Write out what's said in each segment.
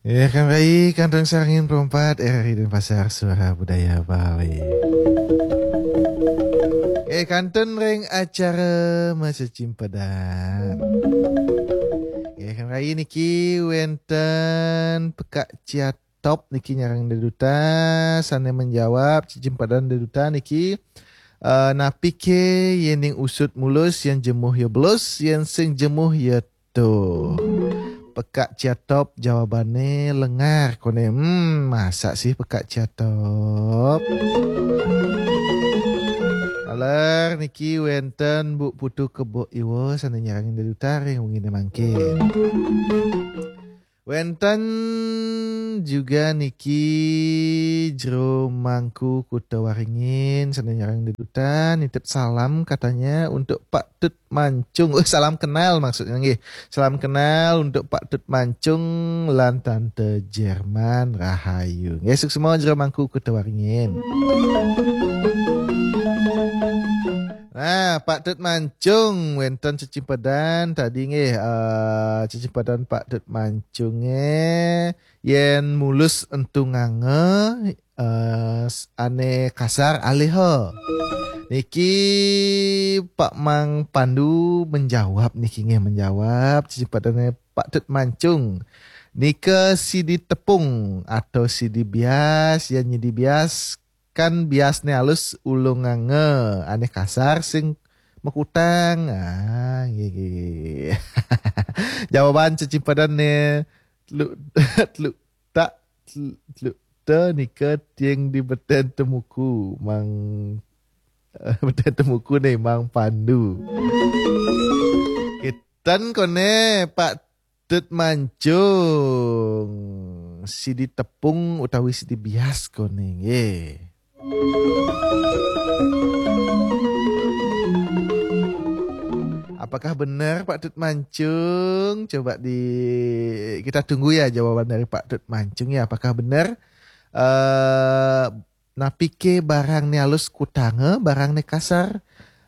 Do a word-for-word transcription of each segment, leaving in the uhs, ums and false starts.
Eh, kang rai, kantun sareng perempat, R R I Denpasar, Suara Budaya Bali. Eh, kantun ring acara Macecimpedan. Eh, kang rai niki wenten Pekak Ciatop niki nyarengin dedutan, sane menjawab cecimpedan dedutan niki, eh, napi ke yen ning usut mulus, yen jemuh ya belus, yen sing jemuh ya tuh. Pekak Ciatop jawabane lengar kone. Hmm, masa sih Pekak Ciatop? Aler niki wenten Bu Putu Kebo Iwo sane nyarengin dedutan ring wengine mangkin. Wenten juga niki Jero Mangku Kuta Waringin sane nyarengin dedutan, nitip salam katanya untuk Pak Tut Mancung. Oh, salam kenal maksudnya nggih. Salam kenal untuk Pak Tut Mancung lan Tante Jerman, rahayu. Nggih, suksma Jero Mangku Kuta Waringin. Nah, Pak Tut Mancung, wenten cecimpedan tadi nggih, eh, cecimpedan Pak Tut Mancunge, yen mulus entungange, eh, s-, ane kasar aliha. Niki Pak Mang Pandu menjawab niki nggih, menjawab cecimpadane Pak Tut Mancung. Nika sidi tepung atau sidi bias, yen nyidi bias kan biasne alus ulunganga, ane kasar sing mekutang. Ah, nggih, nggih. Jawaban cecimpadane telu, telu tak, telu, telu te nika tiang di beten temuku, Mang, beten temuku ne, Mang Pandu. Kiten kone Pak Tut Mancung, sidi tepung utawi sidi bias kone nggih. Apakah benar Pak Tut Mancung? Coba di, kita tunggu ya jawaban dari Pak Tut Mancung ya. Apakah benar, eh, napike barang ne alus kutanga, barang ne kasar,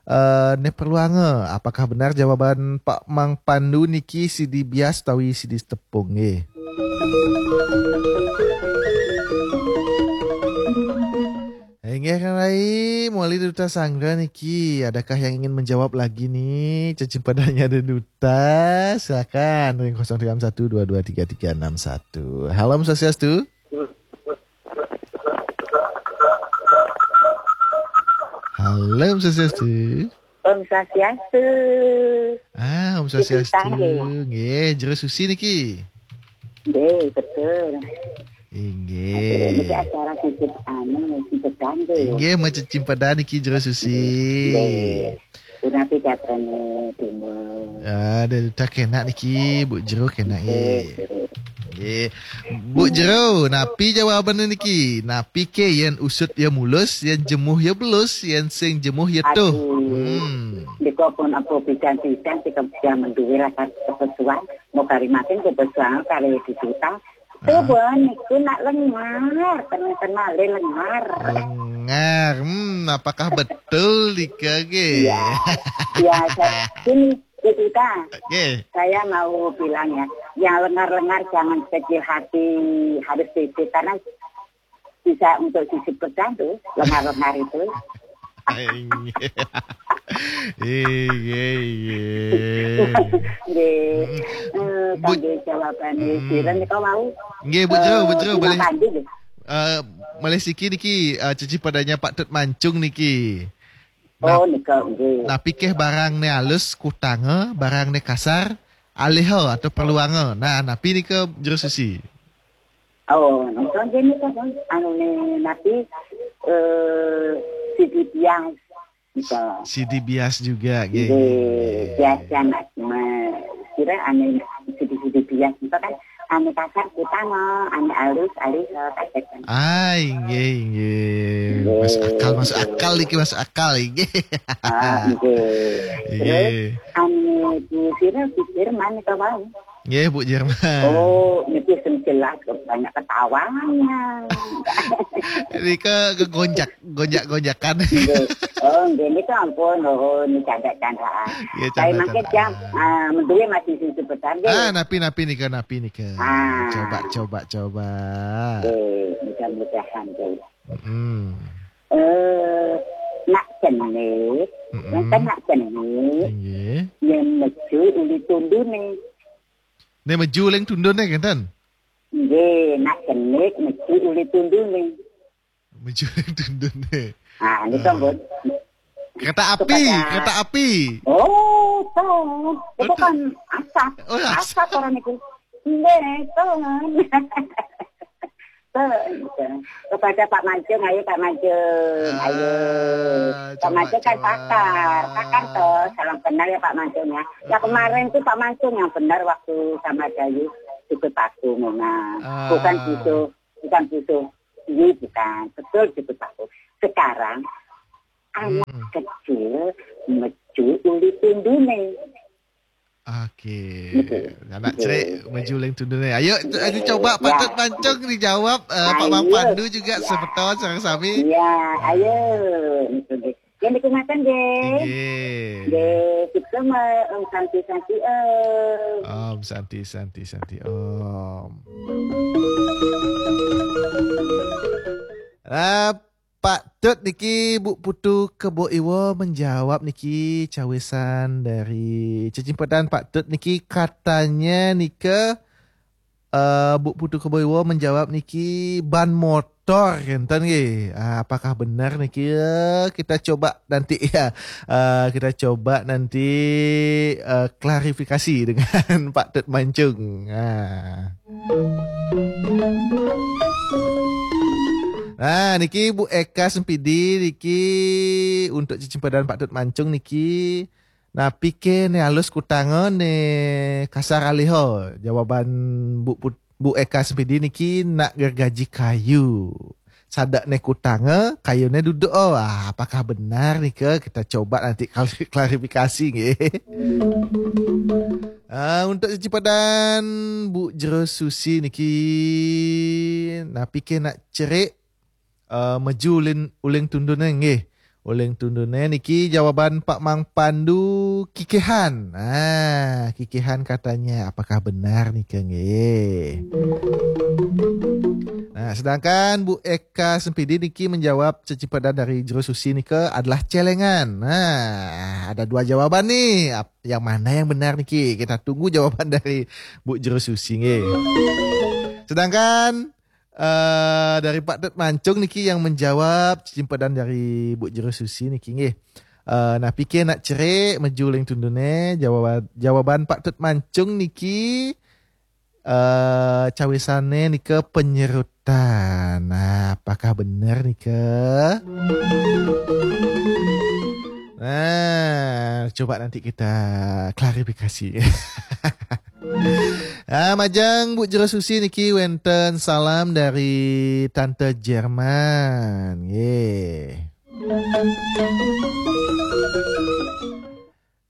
eh, ne perluanga? Apakah benar jawaban Pak Mang Pandu niki sidi bias utawi sidi tepung nggih? Inggih, Kang Rai, mawali duta sanggra niki. Adakah yang ingin menjawab lagi nih? Cacing padanya ada duta. Silakan, ring kosong tiga enam satu dua dua tiga tiga enam satu. Halo, Om Swastiastu. Halo, Om Swastiastu. Om Swastiastu. Ah, Om Swastiastu. Nggih, Jero Susi niki. Nggih, betul. Inggih. Niki acara sisip anu, sisip kangge. Inggih, macecimpedan niki Jero Susi. Nggih. Punapi gatrane timun. Aduh, tak enak niki, Bu Jero, enak nggih. Nggih. Nggih. Bu Jero, napi jawabane niki? Napi ke yen usut ya mulus, yen jemuh ya belus, yen sing jemuh ya tuh? Aduh. Hmm. Nika pun apa pisan-pisan sing kemudian menduwe rasa kepesuan, mau kari makin kepesuan kari dituta. Tuh, ah. Bon, niku nak lengar, tenang-tenang le lengar. Lengar. Hmm, apakah betul nika nggih? Iya. Iya, saya, gini, Bu Duta. Nggih. Saya mau bilang ya, yang lengar-lengar jangan kecil hati, harus sisip karena bisa untuk sisip kerjaan tuh, lengar-lengar itu. Inggih. Inggih, inggih. Nggih. Mm. Eh, Bu, kangge jawabane, mm, sira nika wau. Nggih, Bu Jero, eh, Bu Jero, bina malih, pandu nggih. Eh, malih siki niki, eh, cecimpadanya Pak Tut Mancung niki. Oh, nah, nika nggih. Napi ke barang ne alus kutanga, barang ne kasar aliha atau perluanga? Nah, napi nika Jero Susi? Oh, nika nggih nika, Bang. Anune napi, eh, sidi bias nika. Sidi bias juga, nggih. Nggih, bias yang me-, kira ane sidi-sidi bias nika kan ane kasar kutanga, ane alus, alus, eh, kasar kan. Ah, inggih, inggih. Nggih. Masuk akal, masuk akal niki, masuk akal, inggih. Ah, nggih. Nggih. Terus, ane Bu Sira pikir mana kau mau? Nggih, Bu Jerman. Oh, niki sing jelas kok banyak ketawanya. Nika kegonjak, gonjak-gonjakan. Nggih. Oh, nggih, niku ampun, oh, ini canda-candaan. Nggih, saya mangke canda-candaan. Jam, ah, menduwe masih sing sebentar, nggih. Ah, napi, napi nika, napi nika. Ah. Coba, coba, coba. Nggih, mudah-mudahan, nggih. Mm-mm. Eh, nak cenik, mm-mm, wonten nak cenik, inggih, yen meju uli tundune. Nek meju uling tundune, ngenten? Nggih, nak cenik meju uli tundune. Meju uling tundune. Ah, niku, ah, pun. Kereta api, kepada kereta api. Oh, tuh. Itu, betul, kan asap. Oh, asap. Asap orang itu. Nggih, tuh. Tuh, gitu. Kepada Pak Mancung, ayo Pak Mancung, ayo. Ah, Pak Mancung kan pakar, pakar toh, salam kenal ya Pak Mancung ya. Ya, ah, kemarin tuh Pak Mancung yang benar waktu sama Dayu jemput aku, Mona. Ah. Bukan gitu, bukan gitu. Ini bukan, betul jemput aku. Sekarang anak, hmm, kecil meju uli tundune. Oke. Gitu. Anak, gitu, cerik meju uling tundune. Ayo, ayo, iya, coba, iya, Pak Tut Mancung dijawab, eh, Pak Mang, ayo, Pandu juga, iya, semeton sareng sami. Iya, ah, ayo. Gitu deh. Yang dikenalkan deh. Inggih. Deh, kita mah, Om Santi, Santi, Om. Om Santi, Santi, Santi, Om. Ah, Pak Tut niki, Bu Putu Kebo Iwo menjawab niki cawisan dari cecimpedan Pak Tut niki, katanya nika, eh, Bu Putu Kebo Iwo menjawab niki ban motor, ngenten nggih. Ah, apakah benar niki? Eh, kita coba nanti ya. Eh, kita coba nanti, eh, klarifikasi dengan Pak Tut Mancung. Ah. Nah, niki Bu Eka Sempidi niki untuk cecimpedan Pak Tut Mancung niki. Napi ke ne alus kutanga ne kasar aliha? Jawaban Bu Put-, Bu Eka Sempidi niki nak gergaji kayu. Sada ne kutanga, kayu ne duduk. Oh, ah, apakah benar nika? Kita coba nanti kal-, klarifikasi nggih. Ah, untuk cecimpedan Bu Jero Susi niki, napi ke nak cerik, eh, meju ulin, uling tundune nggih. Uling tundune niki jawaban Pak Mang Pandu, kikihan. Ah, kikihan katanya. Apakah benar nika nggih? Nah, sedangkan Bu Eka Sempidi niki menjawab cecimpedan dari Jero Susi nika adalah celengan. Nah, ada dua jawaban nih. Ap-, yang mana yang benar niki? Kita tunggu jawaban dari Bu Jero Susi nggih. Sedangkan, eh, dari Pak Tut Mancung niki yang menjawab cecimpedan dari Bu Jero Susi niki nggih. Eh, napi ke nak cerik meju uling tundune? Jawaban, jawaban Pak Tut Mancung niki, eh, cawisane nika penyerutan. Nah, apakah benar nika? Nah, coba nanti kita klarifikasi. Ah, majeng Bu Jero Susi niki wenten salam dari Tante Jerman. Nggih.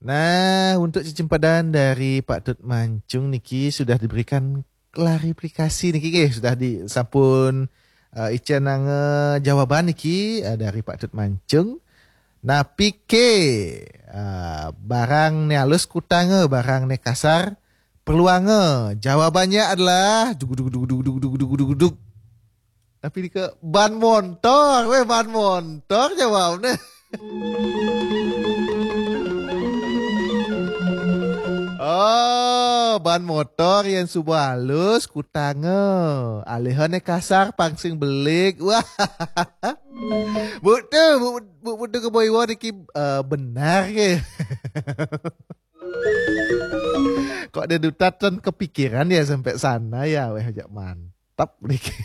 Nah, untuk cecimpedan dari Pak Tut Mancung niki sudah diberikan klarifikasi niki nggih, sudah di-, sampun, eh, icenanga jawaban niki, eh, dari Pak Tut Mancung. Napi ke, eh, barang ne alus kutanga, barang ne kasar perluanga? Jawabannya adalah dug, dug, dug, dug, dug, dug, dug, dug, dug. Tapi nika ban montor, weh, ban montor jawabnya. Oh, ban motor yang suba alus kutanga. Alihane kasar pang sing belik. Wah. Bu tu, bu, bu, bu tu ke boy niki, eh, benar ke? Kok dia duta tan kepikiran ya sampai sana ya, weh, ajak mantap niki.